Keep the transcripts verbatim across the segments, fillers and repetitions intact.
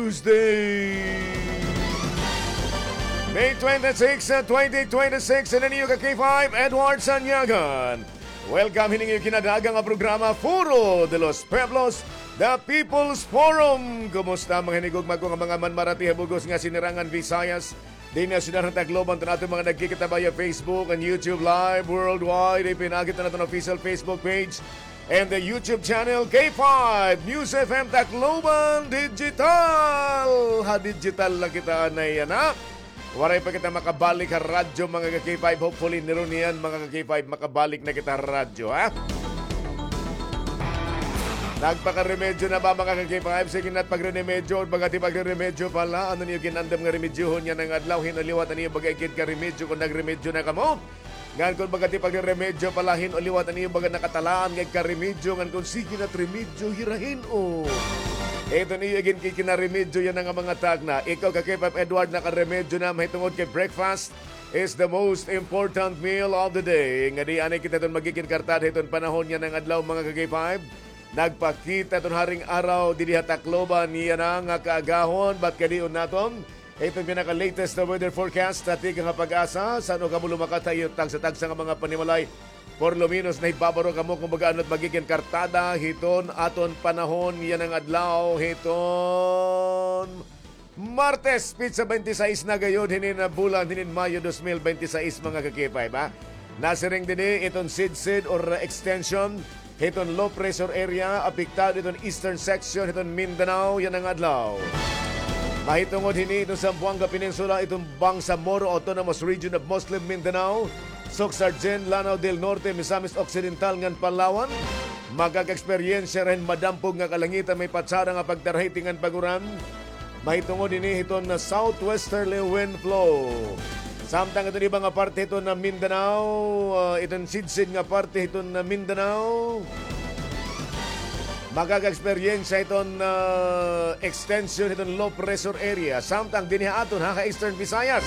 Tuesday, May twenty-six, twenty twenty-six, ini an iyo ka K five, Edward Sanyagan. Welcome hini nga iyo kinadaga nga programa, Foro de los Pueblos, The People's Forum. Kumusta mga hinigugma ko nga mga manmarati ha bug-os nga sinirangan Visayas? Dinhi ha syudad han Tacloban, iton aton mga nagkikita via Facebook and YouTube Live worldwide. Ipinaagi iton aton official Facebook page and the YouTube channel, K five News F M Tacloban Digital. Ha digital na kita anay, yana. Waray pa kita makabalik ha radyo, mga ka K five. Hopefully, niron niyan, mga ka K five, makabalik na kita ha radyo, ha? Nagpakaremedyo na ba, mga ka K five? Sige na, pagrenimedyo, baga ti pagrenimedyo pala. Ano niyo ginandam nga remedyohon yana nga adlaw? Hin-o liwat an iyo baga igid karemedyo kon nagremedyo na kamo? Ngan kon baga ti pagrenimedyo pala, hin-o liwat an iyo baga nakatalaan nga igkaremedyo, ngan kon sige na it remedyo, hira hin-o? Iton iyo igin kikinaremedyo yana nga mga tagna. Ikaw ka K five Edward, nakaremedyo na, mahitungod kay breakfast is the most important meal of the day. Ngadi anay kita iton magigin kartada hiton panahon yana nga adlaw, mga ka K five. Nagpakita iton haring araw didi ha Tacloban yana nga kaagahon, bat kadion naton iton pinaka-latest na weather forecast ha tikang ha PAGASA. San-o kamo lumakat ha iyo tagsa-tagsa nga mga panimalay? Por lo menos, nahibabaro kamo kon baga ano it magigin kartada hiton aton panahon yana nga adlaw, hiton Martes, petsa twenty-six na gayod hinin bulan, hinin Mayo dos mil bente seis, mga ka K five, ha? Nasiring dinhi iton sidsid or extension hiton low pressure area, apektado iton eastern section hiton Mindanao yana nga adlaw. Mahitungod hini iton Zamboanga Peninsula, iton Bangsamoro Autonomous Region of Muslim Mindanao, Soccsksargen, Lanao del Norte, Misamis Occidental ngan Palawan. Makaka-eksperyensya hira hin madampog nga kalangitan, may patsara nga pagtarahiti ngan pag-uran. Mahitungod ini hiton southwesterly wind flow. Samtang iton iba nga parte hiton Mindanao, ah, iton sidsid nga parte hiton Mindanao, makaka-eksperyensya hiton, ah, extension hiton low pressure area. Samtang dinhi ha aton ha, ha Eastern Visayas,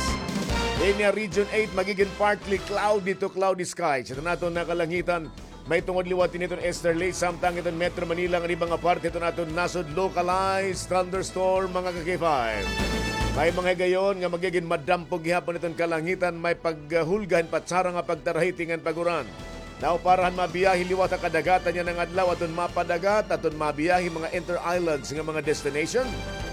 ini ha Region eight, magigin partly cloudy to cloudy skies iton aton nga kalangitan. Mahitungod liwat ini hiton easterly, samtang hiton Metro Manila ngan iba nga parte hiton aton nasod, localized thunderstorm, mga ka K five. May mga higayon nga magigin madampog gihapon iton kalangitan, may paghulga hin patsara nga pagtarahiti ngan pag-uran. Now, para han mabiyahe liwat ha kadagatan yana nga adlaw, aton mapadagat, aton mabiyahe mga inter-islands nga mga destination,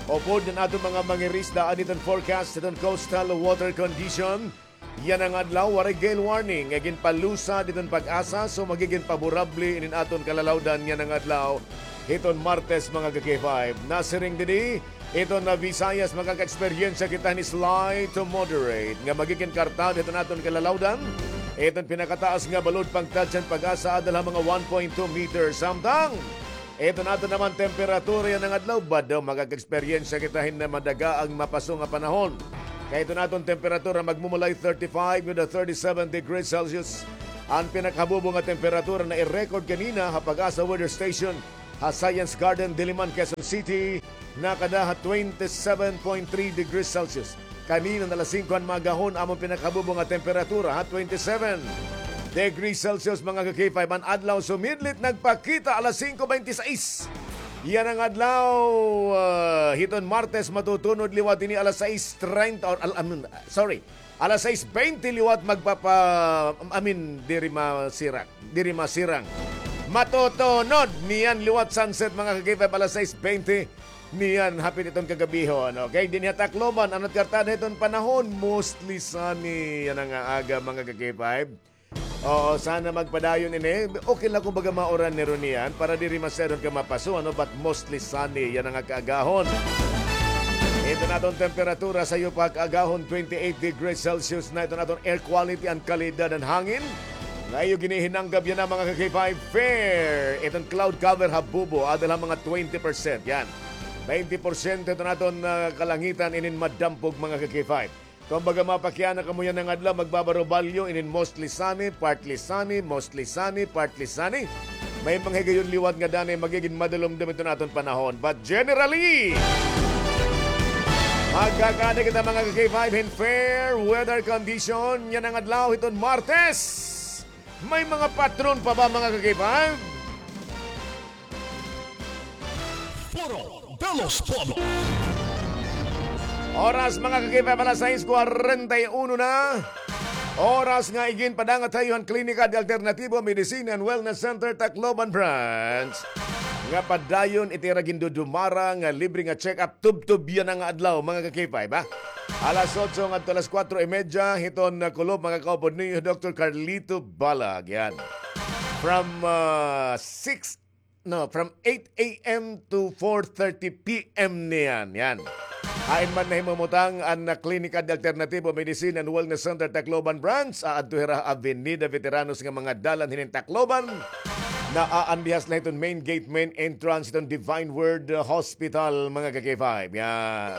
upod han aton mga mangirisda, adi iton forecast hiton coastal water condition. Yana nga adlaw, waray gale warning nga ginpalusad hiton PAGASA, so magigin paborable inin aton kalalawdan yana nga adlaw hiton Martes, mga ka K five. Nasiring didi, iton Visayas, makaka-eksperyensya kita hin slight to moderate nga magigin kartada hiton aton kalalawdan. Iton pinakataas nga balod pagtadya han PAGASA adal ha mga one point two meters. Samtang iton aton naman temperatura yana nga adlaw, bado, makaka-eksperyensya kita hin madaga an mapaso nga panahon. Kay iton aton temperatura magmumulay thirty-five to thirty-seven degrees Celsius. An pinakahabubo nga temperatura na i-record kanina ha PAGASA Weather Station ha Science Garden, Diliman, Quezon City, nakada ha twenty-seven point three degrees Celsius. Kanina nga alas singko han maagahon, amon pinakahabubo nga temperatura ha twenty-seven degrees Celsius, mga ka K five. An adlaw sumidlit, nagpakita alas singko bente sais. Yana nga adlaw, ah, hiton Martes, matutunod liwat ini alas sais treinta, or, al-, I mean, sorry, alas sais bente liwat magpapa-, I mean, diri masirang, diri masirang. Matutunod niyan liwat sunset, mga ka K five, alas sais bente niyan hapit iton kagabihon. Okay, dinhi ha Tacloban, ano it kartada hiton panahon? Mostly sunny yana nga aga, mga ka K five. Oo, sana magpadayon ini. Okay la kon baga mauran niron niyan para diri masyadon ka mapaso, ano, but mostly sunny yana nga kaagahon. Iton aton temperatura sayo pa kaagahon, twenty-eight degrees Celsius na. Iton aton air quality, an kalidad han hangin nga iyo ginihinanggab yana, mga ka K five, fair. Iton cloud cover habubo, adal ha mga twenty percent. Yan. Twenty percent iton aton, ah, kalangitan inin madampog, mga ka K five. Kumbaga, mapakiana kamo yana nga adlaw, magbabarobalyo inin mostly sunny, partly sunny, mostly sunny, partly sunny. May mga higayon liwat nga danay magigin madalumdom iton aton panahon. But generally, magkakada kita, mga ka K five, hin fair weather condition yana nga adlaw hiton Martes. May mga patron pa ba, mga ka K five? Foro de los Pueblos. Oras, mga ka-K five, alas sais kwarenta y uno na. Oras nga iginpadangat ha iyo han Klinika de Alternativo Medicine and Wellness Center, Tacloban Branch, nga padayon it ira gindudumara nga libre nga check-up tubtob yana nga adlaw, mga ka-K five, ha? Alas otso ngadto alas kuwatro y medya, hiton, ah, kulop, makakaupod niyo Doktor Carlito Balag, yan. From, ah, six, no, from eight a m to four thirty p m niyan, yan. Hain man nahimumutang an, ah, Klinika de Alternativo Medicine and Wellness Center Tacloban Branch, aadto hira ha Avenida Veteranos nga mga dalan hinin Tacloban. Naaanbihas la hiton main gate, main entrance hiton Divine Word, uh, Hospital, mga ka-K five. Yan.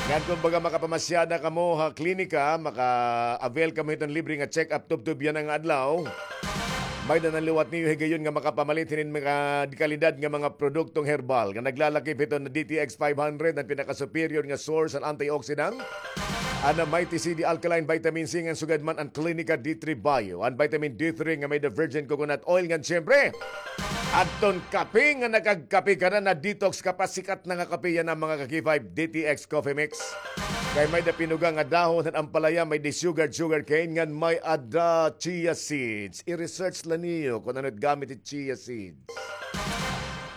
Ngan kon baga makapamasyada kamo ha klinika, maka-avail kamo hiton libre nga check-up tubtob yana nga adlaw. May-ada na liwat niyo higayon nga makapamalit hinin mga kalidad nga mga produktong herbal nga naglalakip hiton D T X five hundred, an pinaka-superior nga source an antioxidant. An Mighty C D Alkaline Vitamin C ngan sugad man an Klinika D three Bio, an vitamin D three nga may-ada virgin coconut oil ngan siyempre adton kape nga nakagkape ka na, na-detox ka pa, sikat na nga kape yana, mga ka-K five, D T X Coffee Mix. Kay may-ada pinuga nga dahon han ampalaya, may-ada sugar, sugar cane, ngan may-ada chia seeds. I-research la niyo kon ano it gamit it chia seeds.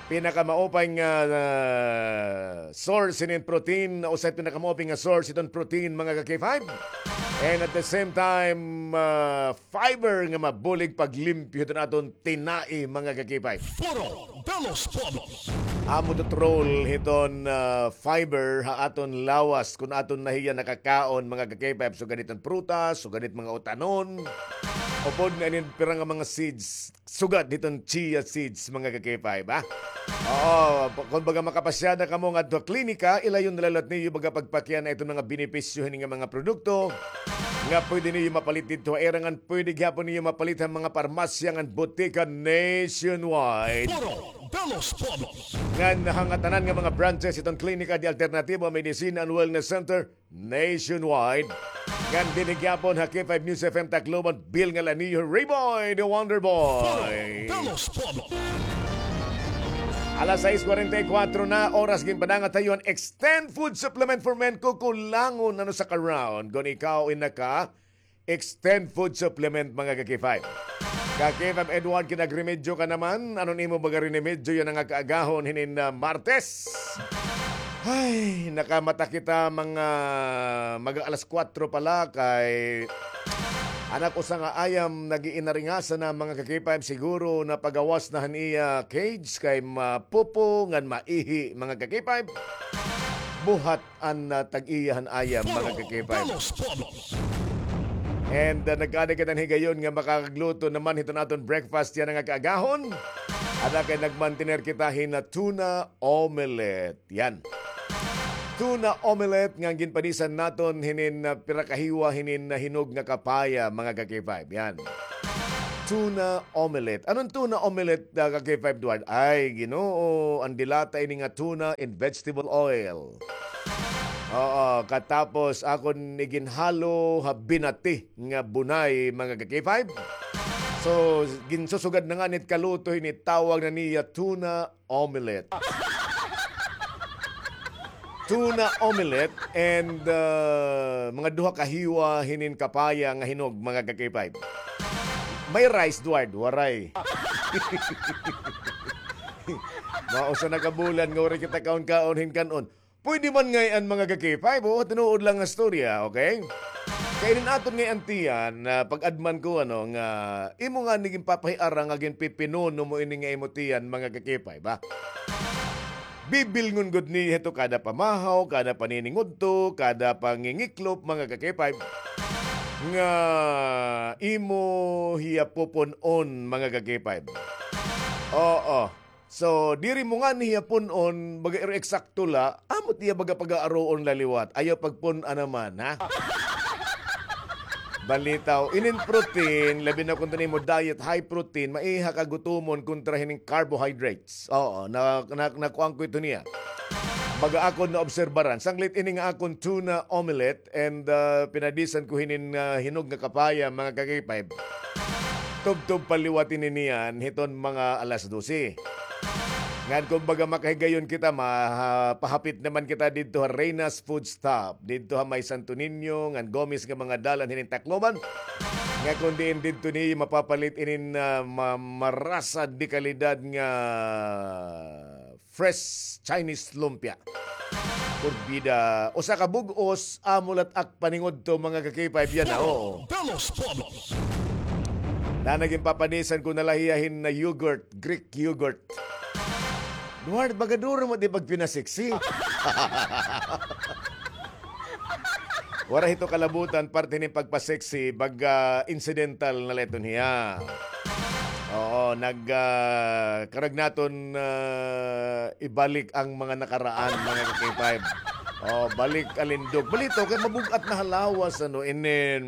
Pinakamaupay nga, ah, source hinin protein, usa it pinakamaupay nga source hiton protein, mga ka-K five. And at the same time, ah, fiber nga mabulig paglimpyo hiton aton tinai, mga ka-K five. Foro de los Pueblos. Amo it role hiton, ah, fiber ha aton lawas kon aton na hiya nakakaon, mga ka-K five. Sugad hiton prutas, sugad hit mga utanon, upod nga inin pira nga mga seeds, sugad hiton chia seeds, mga ka-K five, ha? Oo, pa-, kon baga makapasyada kamo ngadto ha klinika, ilayon na la liwat niyo baga pagpakiana iton mga benepisyo hini nga mga produkto nga pwede niyo mapalit didto ha ira ngan pwede gihapon niyo mapalit ha mga parmasya ngan botika nationwide. Foro de los Pueblos. Ngan ha ngatanan nga mga branches hiton Klinika de Alternativo Medicine and Wellness Center nationwide. Ngan dinhi gihapon ha K five News F M Tacloban, bilnga la niyo Rayboy the Wonder Boy. Foro de los Pueblos. Alas sais kwarenta y kuwatro na, oras ginpadangat ha iyo an Extend Food Supplement for Men, kukulangon ano sa ka-round kon ikaw in naka Extend Food Supplement, mga ka-K five. Ka-K five Edward, kinagremedyo ka naman. Ano an imo baga rinemedyo yana nga kaagahon hinin, ah, Martes? Ay, nakamata kita mga, mga alas kuwatro pa la kay an ak usa nga ayam nag-iinaringasa na, mga ka-K five, siguro napagawas na han iya cage kay mapupo ngan maihi, mga ka-K five. Buhat an, ah, tag-iya han ayam, mga ka-K five. And, ah, nagkaada kita hin higayon nga makakagluto naman hiton aton breakfast yana nga kaagahon. Ada kay nagmantener kita hin, ah, tuna omelette. Yan. Tuna omelette nga ginpadisan naton hinin, ah, pira ka hiwa hinin, ah, hinog nga kapaya, mga ka-K five. Yan. Tuna omelette. Ano an tuna omelette, ah, ka-K five Edward? Ay, Ginoo, an de lata ini nga tuna in vegetable oil. Oo, katapos akon iginhalo ha binati nga bunay, mga ka-K five. So, ginsusugad na ngani it kaluto hini, tawag na niya tuna omelette. Tuna omelette and, ah, mga duha ka hiwa hinin kapaya nga hinog, mga ka-K five. May rice, Edward? Waray. Mga usa na ka bulan nga waray kita kaon-kaon hin kan-on. Pwede man ngay-an, mga ka-K five, o, tinuod lang nga storya, okay? Kay inin aton ngay-an tiyan, ah, pag-adman ko, ano, nga imo ngani ginpapahiara nga ginpipinuno mo ini nga imo tiyan, mga ka-K five, ba? Bibilngon gud niya hito kada pamahaw, kada paniningudto, kada pangingiklop, mga ka-K five, nga imo hiya pupun-on, mga ka-K five. Oo. So, diri mo ngani hiya pun-on, baga iro eksakto la, amo it iya baga pag-aaruon la liwat. Ayaw pagpun-a naman, ha? Balitaw, inin protein, labi na kon imo diet, high protein, maiha ka gutomon kontra hinin carbohydrates. Oo, na, na, nakuan ko ito niya. Baga akon naobserbaran. Sanglit ini nga akon tuna omelette and, ah, pinadisan ko hinin, ah, hinog nga kapaya, mga ka-K five. Tubtob pa liwat ini niyan hiton mga alas dose. Ngan kumbaga makahigayon kita, mapahapit naman kita didto ha Reyna's Food Stop, didto ha may Santo Niño, ngan Gomez nga mga dalan hinin Tacloban. Nga kun diin didto niyo mapapalit inin, ah, ma-, marasa de kalidad nga fresh Chinese lumpia. Porbida, usa ka bug-os, amo la it ak paningudto, mga ka-K five, yana, oo. Naa na, ginpapanisan ko na la hiya hin yogurt, Greek yogurt. Lord, baga duro mo di pagpinaseksi. Waray hito kalabutan, parte hinin pagpa-sexy, baga incidental na la iton hiya. Oo, nag, ah, karuyag naton, ah, ibalik an mga nakaraan, mga ka-K five. Oh, balik alindog. Balitaw, kay mabug-at na ha lawas, ano, and then,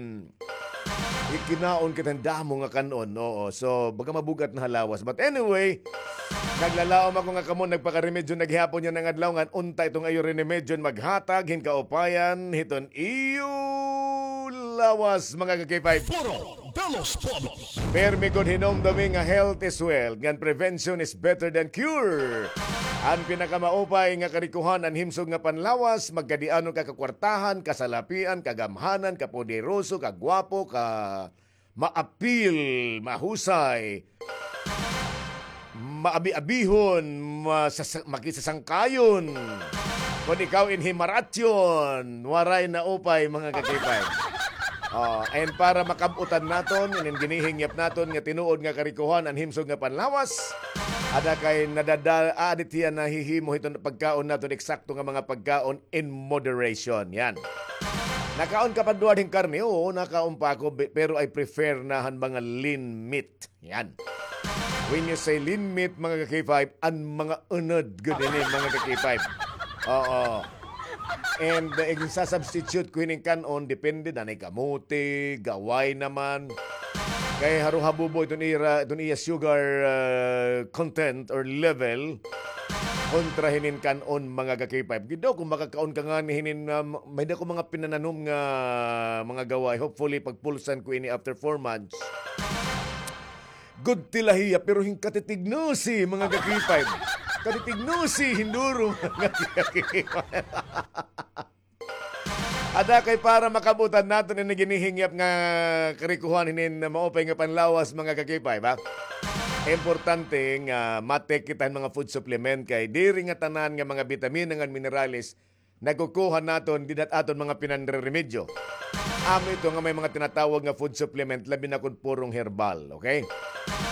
ikinaon kita hin damo nga kan-on, oo. So, baga mabug-at na ha lawas. But anyway, naglalaom ako nga kamo nagpakaremedyo na gihapon yana nga adlaw, ngan unta iton iyo remedyo maghatag hin kaupayan hiton iyo lawas, mga ka-K five. Puro de los Pueblos. Permi gud hinumdumi nga health is wealth, ngan prevention is better than cure. An pinakamaupay nga karikohan an himsog nga panlawas, magkadiano ka kakwartahan, kasalapian, kagamhanan, kapoderoso, kagwapo, ka maapil, mahusay, maabi-abihon, masasa-, makisasangkayon. Kon ikaw in himaratyon, waray na upay, mga ka-K five. Oh, and para makab-utan naton, inin ginihingyap naton nga tinuod nga karikohan an himsog nga panlawas, ada kay nadadal-, ah, adit hiya nahihimo hiton pagkaon naton, eksakto nga mga pagkaon in moderation. Yan. Nakaon ka pa, Edward, hin karne? Oo, nakaon pa ako, be-, pero I prefer na han mga lean meat. Yan. When you say lean meat, mga ka-K five, an mga unod gud ini, mga ka-K five. Oo. And, uh, igsasubstitute ko hinin kan-on, depende, nanay kamote, gaway naman. Kay haruhabubo iton ira, iton iya sugar, uh, content or level kontra hinin kan-on, mga ka-K five. Gid daw, kung makakaon ka ngani hinin, um, may-ada ko mga pinananom nga mga gaway. Hopefully, pagpulsan ko ini after four months. Good tila hiya, pero hin katitignusi, mga ka-K five. Katitignusi, hinduro, mga ka-K five. Ada kay para makab-utan naton ini ginihingyap nga karikohan hinin maupay nga panlawas, mga ka-K five, ha? Importante nga ma-take kita hin mga food supplement kay diri nga tanan nga mga bitamina ngan minerales nakukuha naton dida ha aton mga pinanreremedyo. Amo ito nga may mga tinatawag nga food supplement, labi na kon purong herbal, okay?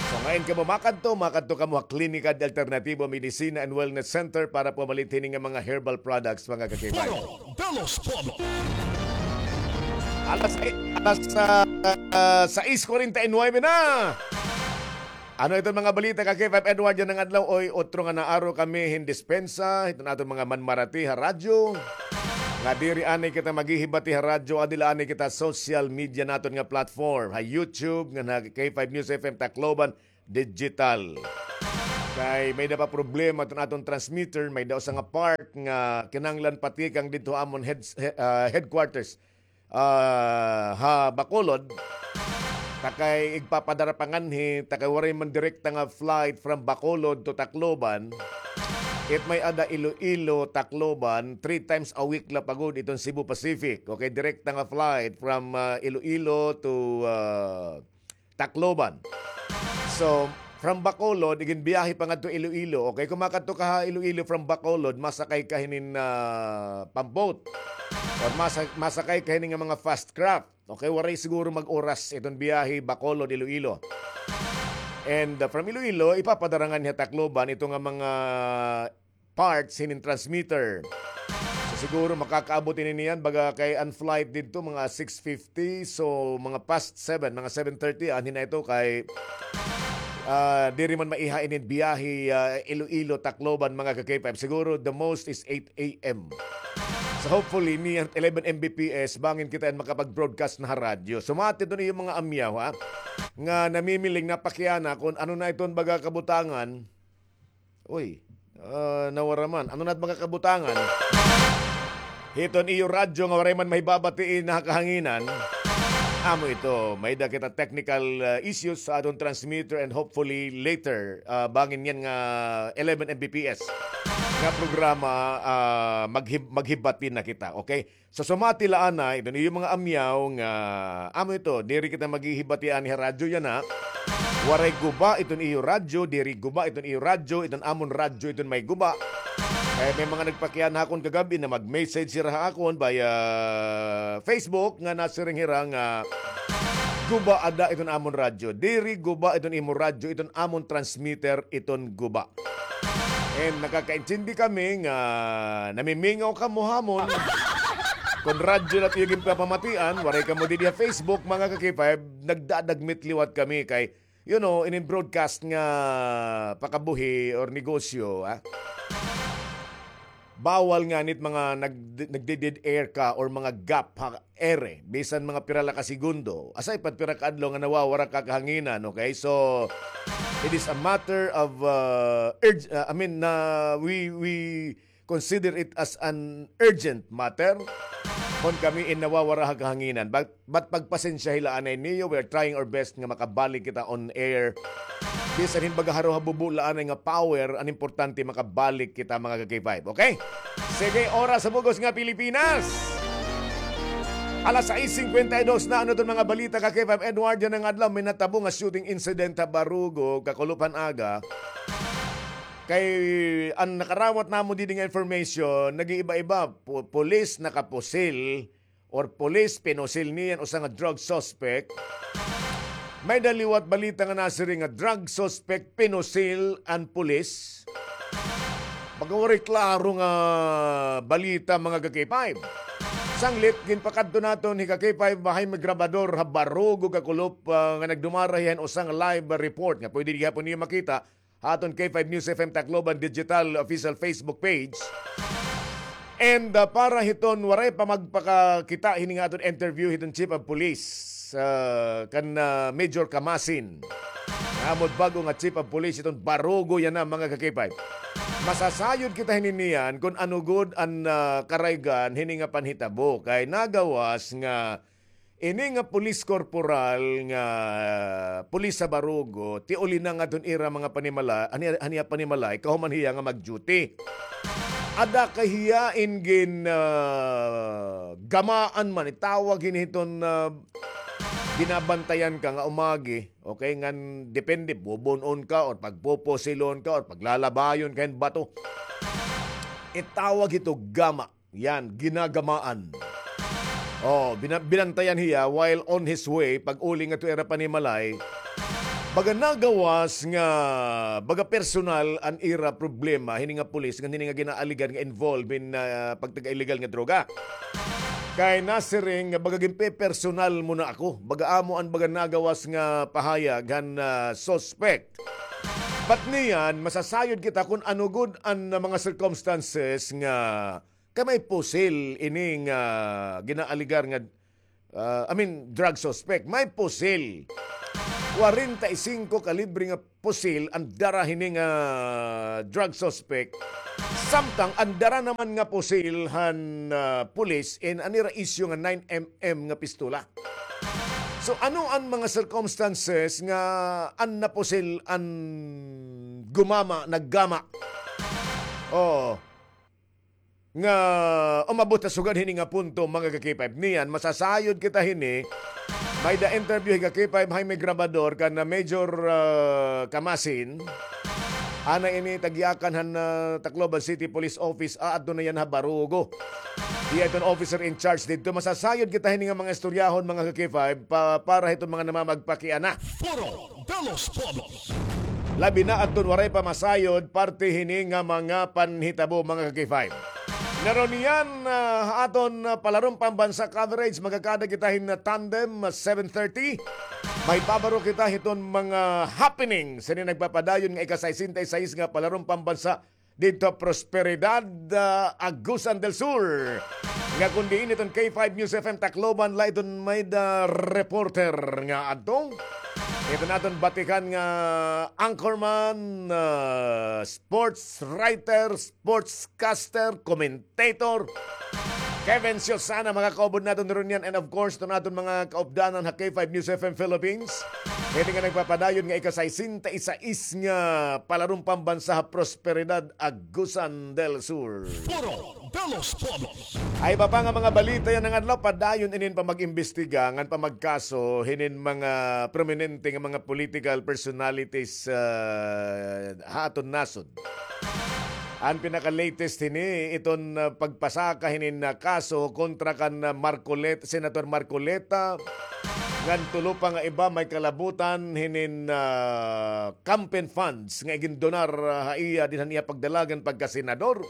So, ngayon kamo makadto, makadto kamo ha Klinika de Alternativo Medicina and Wellness Center para pumalit hini nga mga herbal products, mga ka-K five. Puro de los Pueblos. Alas, alas, ah, ah, sais kuwarenta y nuebe na. Ano iton mga balita, ka-K five Edward, yana nga adlaw? Oy, otro nga naaro kami hin dispensa hiton aton mga manmarati ha radyo. Nga diri anay kita maghihibati ha radyo, adi la anay kita social media naton nga platform, ha YouTube, ngan ha K five News F M Tacloban Digital. Kay may-ada pa problema iton aton transmitter, may-ada usa nga part nga kinahanglan patikang didto ha amon heads-, he-, ah, headquarters ah, ha Bacolod, ta kay igpapadara pa nganhi, ta kay waray man direkta nga flight from Bacolod to Tacloban. It may-ada Iloilo, Tacloban, three times a week la pa gud iton Cebu Pacific. Okay, direkta nga flight from, ah, Iloilo to, ah, Tacloban. So, from Bacolod, iginbiyahe pa ngadto Iloilo. Okay, kung makadto ka ha Iloilo from Bacolod, masakay ka hinin, ah, pamboat. Or masa-, masakay ka hinin nga mga fast craft. Okay, waray siguro mag-oras iton biyahe Bacolod, Iloilo. And, ah, from Iloilo, ipapadara nganhi ha Tacloban ito nga mga parts hinin transmitter. So, siguro makakaabot ini niyan, baga kay an flight didto, mga six fifty, so, mga past seven, mga seven thirty, anhi na ito kay, ah, diri man maiha inin biyahe, ah, Iloilo, Tacloban, mga ka-K five. Siguro, the most is eight A M. So, hopefully, niyan eleven M B P S, bangin kita yan makapag-broadcast na ha radyo. So, mati ito na yung mga amyaw, ha? Nga namimiling, napakiana, kung ano na iton baga kabutangan, Uy, ah, nawara man. Ano na it mga kabutangan? Hiton iyo radyo nga waray man mahibabati ha kahanginan. Amo ito, may-ada kita technical, ah, issues sa aton transmitter, and hopefully later, ah, bangin yana nga eleven M B P S nga programa, ah, maghib-, maghibati na kita, okay? So, sumati la anay iton iyo mga amyaw nga, amo ito, diri kita maghihibati anay ha radyo yana. Waray guba iton iyo radyo, diri guba iton iyo radyo, iton amon radyo iton may guba. Kay may mga nagpakiana ha akon kagab-i na mag-message hira ha akon via Facebook nga nasiring hira nga guba ada iton amon radyo. Diri guba iton imo radyo, iton amon transmitter iton guba. And nakakaintindi kami nga namimingaw kamo ha amon. Kon radyo la it iyo ginpapamatian, waray kamo didi ha Facebook, mga ka-K five, nagdadagmit liwat kami kay, you know, inin broadcast nga pakabuhi or negosyo, ah. Bawal ngani it mga nag-, nagde-dead air ka or mga gap ha ere, bisan mga pira la ka segundo. Aside pa it pira ka adlaw nga nawawara ka kahanginan, okay? So, it is a matter of, uh, urg-, uh, I mean, na we, we consider it as an urgent matter kon kami in nawawara ha kahanginan. But, but pagpasensyahi la anay niyo, we are trying our best nga makabalik kita on air. Bisan hin baga haro ha bubo la anay nga power, an importante makabalik kita, mga ka-K five, okay? Sige, oras sa bug-os nga Pilipinas. Alas sais singkwenta y dos na. Ano iton mga balita, ka-K five Edward? Yana nga adlaw may natabo nga shooting incident ha Barugo, kakulop han aga. Kay an nakarawat namo didi nga information, nag-iiba-iba. Pu-, pulis nakapusil or pulis pinusil niya an usa nga drug suspect. May-ada liwat balita nga nasiring nga drug suspect pinusil an pulis. Baga waray klaro nga balita, mga ka-K five. Sanglit, ginpakadto naton hi ka-K five Jaime Grabador ha Barugo, kakulop, ah, nga nagdumara hiya hin usa nga live report nga pwede gihapon niyo makita ha aton K five News F M Tacloban digital official Facebook page. And, ah, para hiton waray pa magpakakita hini nga aton interview hiton Chief of Police, ah, kan, ah, Major Camasin. Nga amo it bag-o nga Chief of Police hiton Barugo yana, mga ka-K five. Masasayod kita hini niyan kon ano gud an, ah, karaygan hini nga panhitabo kay nagawas nga ini nga police corporal nga pulis sa Barugo, tiuli na ngadto han ira mga panimala-, han iya, han iya panimalay, kahuman hiya nga mag-duty. Ada kay hiya in gin, ah, gamaan man, itawag hini hiton, ah, binabantayan ka nga umagi, okay, ngan depende, bubun-on ka or pagpupusilon ka or paglalabayon ka hin bato. Itawag hito gama. Yan, ginagamaan. Oh, bina-, binantayan hiya while on his way, pag-uli ngadto ira panimalay. Baga nagawas nga, baga personal an ira problema, hini nga pulis, ngan hini nga ginaaligar nga involved in, ah, pagtag-illegal nga droga. Kay nasiring nga baga ginpepersonal mo na ako. Baga amo an baga nagawas nga pahayag han, ah, suspect. But niyan, masasayod kita kon ano gud an, ah, mga circumstances nga kay may pusil ini nga ginaaligar nga, ah, I mean, drug suspect. May pusil. Kwarenta y singko kalibre nga pusil an dara hini nga drug suspect. Samtang an dara naman nga pusil han, ah, pulis in an ira isyu nga nine M M nga pistola. So, ano an mga circumstances nga an napusil an gumama, naggama? Oh. Nga umabot ha sugad hini nga punto, mga ka-K five. Niyan, masasayod kita hini. May-ada interview hi ka-K five Jaime Grabador kan, ah, Major, ah, Camasin. Anay ini, tag-iyakan han, ah, Tacloban City Police Office, aadto na yana ha Barugo. Hiya iton officer in charge didto. Masasayod kita hini nga mga istoryahon, mga ka-K five, pa-, para hiton mga namamagpakiana. Foro de los Pueblos. Labi na adton waray pa masayod, parte hini nga mga panhitabo, mga ka-K five. Naro niyan, ah, aton, ah, palaron pambansa coverage, magkakada kita hin tandem, ah, seven thirty. May pabaro kita hiton mga happening sa ini nagpapadayon nga ika-sesenta y seis nga palaron pambansa didto Prosperidad, ah, Agusan del Sur. Nga kon diin iton K five News F M Tacloban, la iton may-ada reporter nga adto. Iton aton batikan nga anchorman, ah, sports writer, sportscaster, commentator. Kevin Siosana, mga kaupod naton ron yan. And of course, to naton mga kaupdanan ha K five News F M Philippines. Hini nga nagpapadayon nga ika-sesenta y seis nga Palarum Pambansa ha Prosperidad, Agusan del Sur. Foro de los Pueblos. Ay, iba pa nga mga balita yana nga adlaw, padayon inin pamag-imbestiga ngan pamagkaso hinin mga prominente nga mga political personalities, ah, ha aton nasod. An pinaka-latest hini, iton, ah, pagpasaka hinin, ah, kaso kontra kan, ah, Marcolet-, Senator Marcoleta, ngan tulo pa nga iba may kalabutan hinin, ah, campaign funds nga igindonar, ah, ha iya dinhi han iya pagdalagan pagkasenador,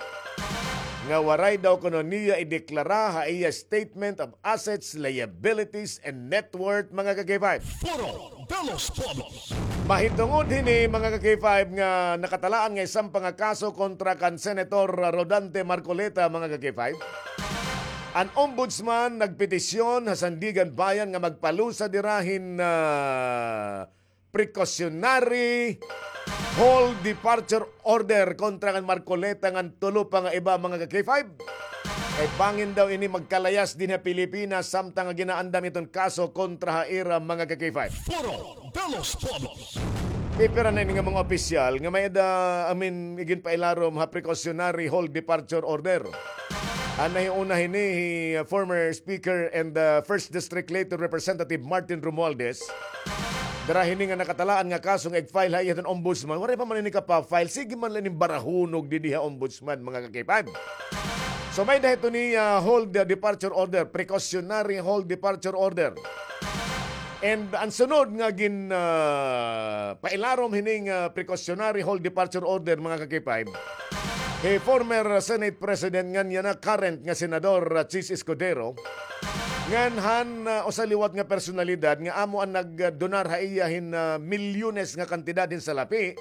nga waray daw kuno niya ideklara ha iya statement of assets, liabilities, and net worth, mga ka-K five. Foro de los Pueblos. Mahitungod hini, mga ka-K five, nga nakatalaan nga isan pa nga kaso kontra kan Senator Rodante Marcoleta, mga ka-K five. An Ombudsman nagpetisyon ha Sandiganbayan nga magpalusad hira hin, ah, precautionary hold departure order kontra kan Marcoleta ngan tulo pa nga iba, mga ka-K five. Kay bangin daw ini magkalayas dinhi ha Pilipinas samtang nga ginaandam iton kaso kontra ha ira, mga ka-K five. Foro de los Pueblos. Pipira na ini nga mga opisyal nga may-ada, I mean, iginpailarom ha precautionary hold departure order. An nahiuna hini hi, uh, former Speaker and, uh, First District later Representative Martin Romualdez. Dara hini nga nakatalaan nga kaso nga ig-file ha iya hiton Ombudsman. Waray pa man ini kapa-file. Sige man la ining barahunog didi ha Ombudsman, mga ka-K five. So, may-ada hito ni, ah, hold, ah, departure order, precautionary hold departure order. And an sunod nga gin, ah, pailarom hining, ah, precautionary hold departure order, mga ka-K five, hi former Senate President ngan yana current nga Senador, ah, Chiz Escudero, ngan han, ah, usa liwat nga personalidad nga amo an nagdonar ha iya hin, ah, milyones nga kantidad hin salapi,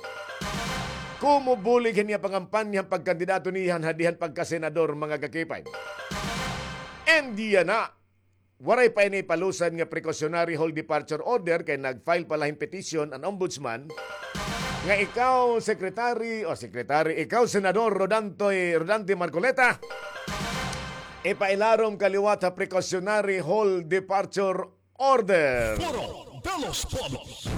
komo bulig hin iya pangampanya han pagkandidato niya han hadihan pagkasenador, mga ka-K five. And yana, waray pa ini ipalusad nga precautionary hold departure order kay nag-file pa la hin petition an Ombudsman nga ikaw, Secretary, o Secretary, ikaw, Senador Rodantoy, Rodante Marcoleta, ipailarom ka liwat ha precautionary hold departure order. Foro de los Pueblos.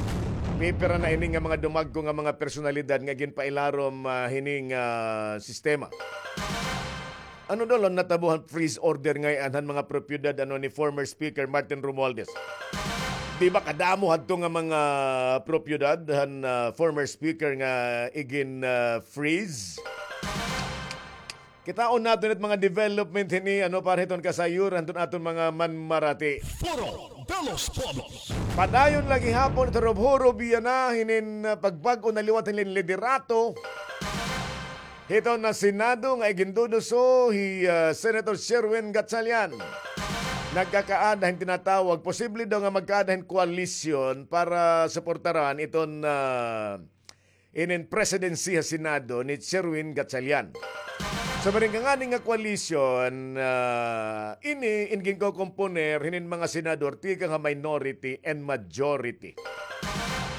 Pipira na ini nga mga dumagko nga mga personalidad nga ginpailarom, ah, hining, ah, sistema. Ano daw la natabo han freeze order ngay-an han mga propiedad, ano, ni former Speaker Martin Romualdez? Di ba kadamo hadto nga mga propiedad han, ah, former Speaker nga igin, ah, freeze? Kitaon naton it mga development hini, ano, para hiton kasayuran hiton aton mga manmarati. Foro de los Pueblos. Padayon la gihapon it hurob-hurob yana hinin, ah, pagbag-o na liwat hinin liderato hiton Senado nga iginduduso hi, ah, Senator Sherwin Gatchalian. Nagkakaada hin tinatawag, posible daw nga magkaada hin koalisyon para suportaran iton, ah, inin presidency ha Senado ni Sherwin Gatchalian. So, maring ngani nga koalisyon, ah, ini in ginkokomponer hinin mga senador tikang ha minority and majority.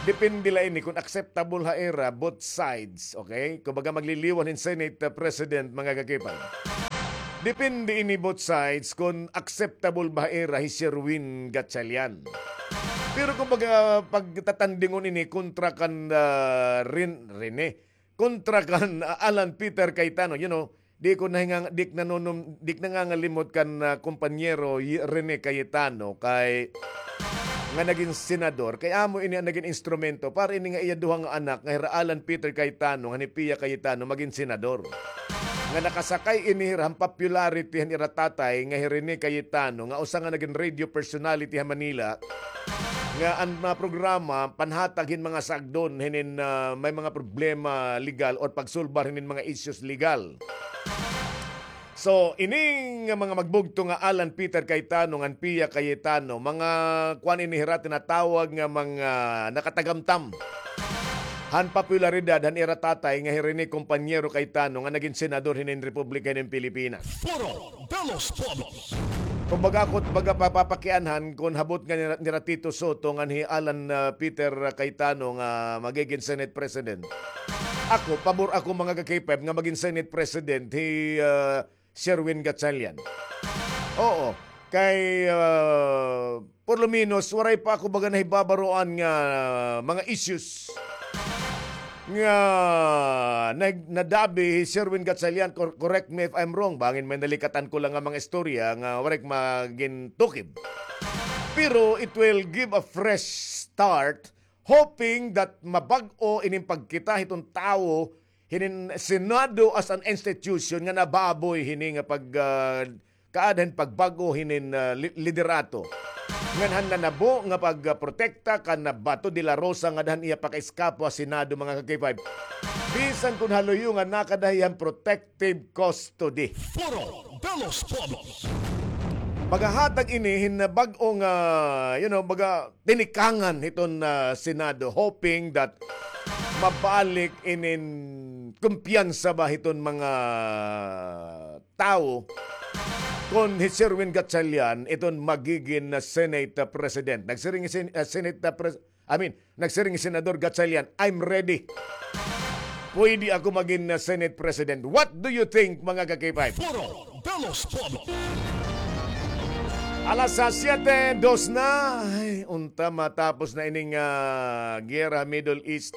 Depende la ini kon acceptable ha ira both sides, okay? Kumbaga, magliliwan hin Senate, ah, President, mga ka-K five. Depende ini both sides kon acceptable ba ha ira hi Sherwin Gatchalian. Pero kumbaga, pagtatandingon ini kontra kan, ah, Ren-, Rene, kontra kan, ah, Alan Peter Cayetano, you know, di ko nahingang-, di ko nanunum-, di ko nangangalimot kan, ah, kompanyero Y-, Rene Cayetano kay nga nagin senador, kay amo ini an nagin instrumento para ini nga iya duha nga anak nga hira Alan Peter Cayetano ngan hi Pia Cayetano magin senador. Nga nakasakay ini hira han popularity han ira tatay nga hi Rene Cayetano, nga usa nga nagin radio personality ha Manila, nga an mga programa panhatag hin mga sagdon hinin, ah, may mga problema legal or pagsulbar hinin mga issues legal. So, ini nga mga magbugto nga Alan Peter Cayetano ngan Pia Cayetano, mga kuan ini hira tinatawag nga mga nakatagamtam han popularidad han ira tatay nga hi Rene Kompanyero Cayetano nga nagin senador hinin Republika hinin Pilipinas. Foro de los Pueblos. Kumbaga, ako, baga, papapakianhan kon habot nga nira, nira Tito Sotto ngan hi Alan, ah, Peter Cayetano nga magigin Senate President. Ako, pabor ako, mga ka-K five, nga magin Senate President hi, ah, Sherwin Gatchalian. Oo. Kay, ah, por lo menos, waray pa ako baga nahibabaroan nga, ah, mga issues nga nag-, nadabi hi Sherwin Gatchalian. Cor-, correct me if I'm wrong. Bangin may nalikatan ko lang nga mga istorya nga waray ko magintukib. Pero it will give a fresh start, hoping that mabag-o ining pagkita hiton tawo hinin Senado as an institution nga nababoy hini nga pag, ah, kaadahan pagbag-o hinin, ah, li-, liderato. Ngan han nanabo nga pagprotekta kan Bato de la Rosa nga adahan iya pakaiskapo ha Senado, mga ka-K five. Bisan kon haluyo nga nakada hiya han protective custody. Foro de los Pueblos. Magahatag ini hin bag-o nga, you know, baga tinikangan hiton, ah, Senado, hoping that mabalik inin kumpiyansa ba hiton mga tawo kon hi Sherwin Gatchalian iton magigin na Senate, ah, President. Nagsiring hi Sen-, ah, Senate, ah, Pres-, I mean, nagsiring hi Senador Gatchalian, "I'm ready. Pwede ako magin, ah, Senate President." What do you think, mga ka-K five? Foro de los Pueblos. Alas, ah, siyete dos na. Ay, unta matapos na ining, ah, giyera Middle East.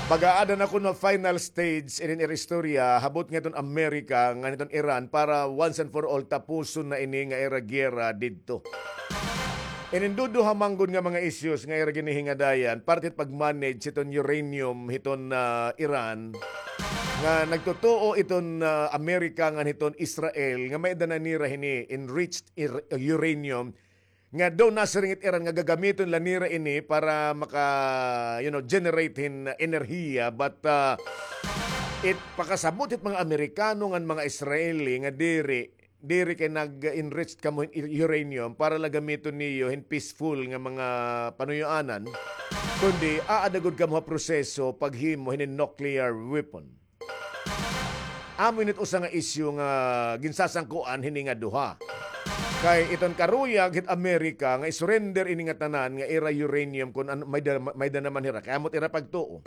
Baga ada na kuno final stage inin ira istorya, habot nga iton Amerika, ngan iton Iran, para once and for all tapuson na ini nga ira giyera didto. Inin duduha man gud nga mga issues nga ira ginhihingadayan, parte hit pag-manage hiton uranium hiton, ah, Iran, nga nagtutuo iton, ah, Amerika ngan hiton Israel nga may-ada na nira hini enriched ir-, uranium, nga daw nasiring it Iran nga gagamiton la nira ini para maka, you know, generate hin enerhiya, but, ah, it pakasabot hit mga Amerikano ngan mga Israeli nga diri, diri kay nag-enrich kamo hin u-, uranium para la gamiton niyo hin peaceful nga mga panuyoanan, kundi aada gud kamo ha proseso paghimo hinin nuclear weapon. Amo ini it usa nga isyu nga ginsasangkuan hini nga duha. Kay iton karuyag hit Amerika nga i-surrender ini nga tanan nga ira uranium kun ano, may da, may da naman hira. Kay amo it ira pagtuo.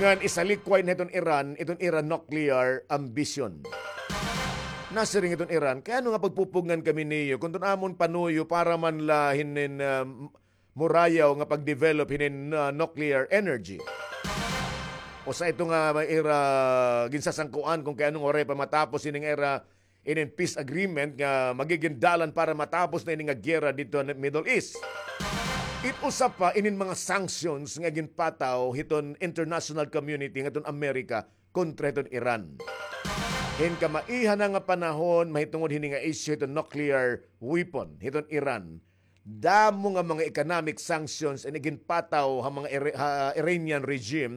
Ngan isalikway na hiton Iran, iton ira nuclear ambition. Nasiring iton Iran, kay ano nga pagpupugngan kami niyo, kun iton amon panuyo para man la hinin, ah, murayaw nga pag-develop hinin, ah, nuclear energy. Usa ito nga may ira ginsasangkuan kun kay ano nga waray pa matapos ini nga ira inin peace agreement nga magigin dalan para matapos na ini nga giyera didto ha Middle East. It usa pa inin mga sanctions nga ginpataw hiton international community ngadton Amerika kontra hiton Iran. Hin kamaiha na nga panahon, mahitungod hini nga isyu hiton nuclear weapon hiton Iran. Damo nga mga economic sanctions an iginpataw ha mga Ira-, ha Iranian regime,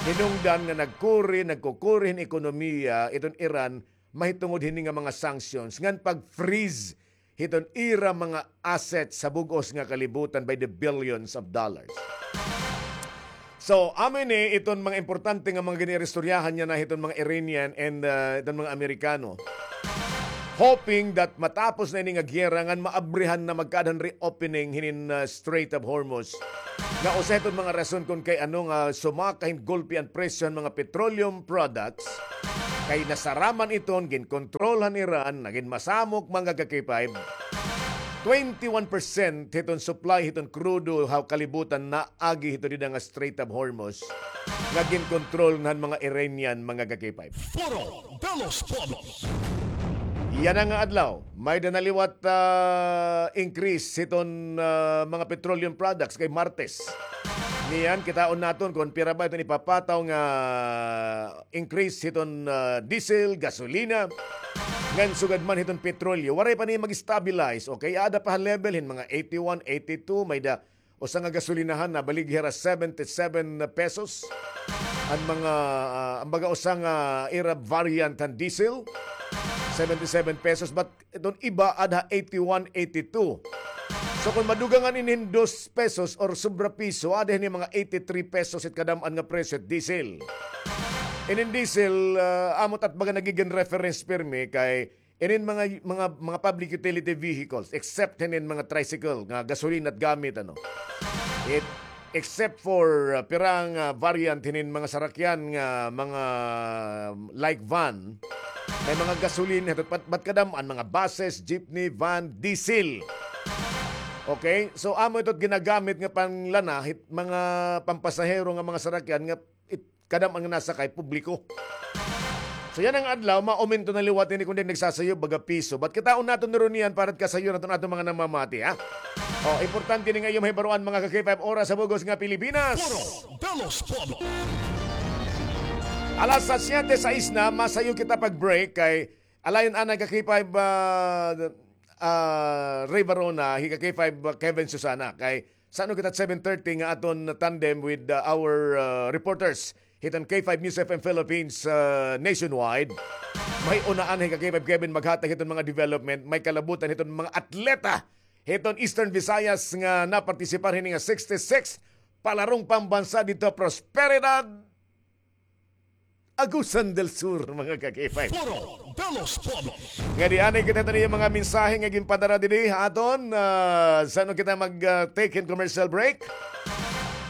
hinungdan nga nagkuri, nagkukuri hin ekonomiya iton Iran mahitungod hini nga mga sanctions ngan pag-freeze hiton ira mga assets sa bug-os nga kalibutan by the billions of dollars. So, amo ini iton mga importante nga mga gin-iristoryahan niya na hiton mga Iranian and, uh, iton mga Amerikano. Hoping that matapos na ini nga giyera ngan maabrihan na magkaada han reopening hinin, uh, Strait of Hormuz. Nga usa hiton mga rason kun kay ano nga sumaka hin golpe an presyo han mga petroleum products. Kay nasaraman iton ginkontrol han Iran, nagin masamok, mga ka-K five. Twenty-one percent hiton supply hiton krudo ha kalibutan naagi hito dida nga Strait of Hormuz nga ginkontrol na han mga Iranian, mga ka-K five. Foro de los Pueblos. Yana nga adlaw, may-ada na liwat, ah, increase hiton, ah, mga petroleum products kay Martes. Niyan, kitaon naton kon pira ba iton ipapataw nga increase hiton, ah, diesel, gasolina, ngan sugad man hiton petrolyo. Waray pa ni mag-stabilize, okay? Aada pa ha level hin mga eighty-one, eighty-two, may-ada usa nga gasolinahan nabaligya hira seventy-seven pesos. An mga, ah, an baga usa nga ira variant han diesel, seventy-seven pesos, but iton iba aada ha eighty-one, eighty-two. So, kon madugangan ini hin dos pesos or sobra piso, aada hini mga eighty-three pesos it kadam-an nga presyo it diesel. Inin diesel, ah, amo it at baga nagigin reference pirmi kay inin mga, mga, mga public utility vehicles, except hinin mga tricycle nga gasolina it gamit, ano. It, except for, ah, pirang, ah, variant hinin mga sarakyan nga mga, um, like van, May mga gasolina, hito, bat, bat kadam-an, mga buses, jeepney, van, diesel. Okay? So, amo ito ginagamit nga panglana, hit, mga pampasahero nga mga sarakyan nga it, kadam-an nga nasakay, publiko. So, yana nga adlaw, mauminto na liwat ini kundi nagsasayo, baga piso. Bat kitaon naton ni Ronian para kasayuran naton aton mga namamati, ha? O, importante ini nga iyo mahibaroan, mga ka-K five, oras sa bug-os nga Pilipinas. Foro de los Pueblos. Alas siyete sais na, masayo kita pag-break kay alayon anay ka-K five, ah, ah, Ray Barona, hi ka-K five, ah, Kevin Susana. Kay san-o kita seven thirty nga aton tandem with, ah, our, ah, reporters hiton K five News F M Philippines, ah, nationwide. May unaan hi ka-K five Kevin maghatag hiton mga development, may kalabutan hiton mga atleta hiton Eastern Visayas nga napartisipar hini nga sixty-six palarong pambansa didto Prosperidad, Agusan del Sur, mga ka-K five. Foro de los Pueblos. Nga di anay kita tani mga mensahe nga ginpadara didi ha aton, ah, san-o kita mag, ah, take hin commercial break.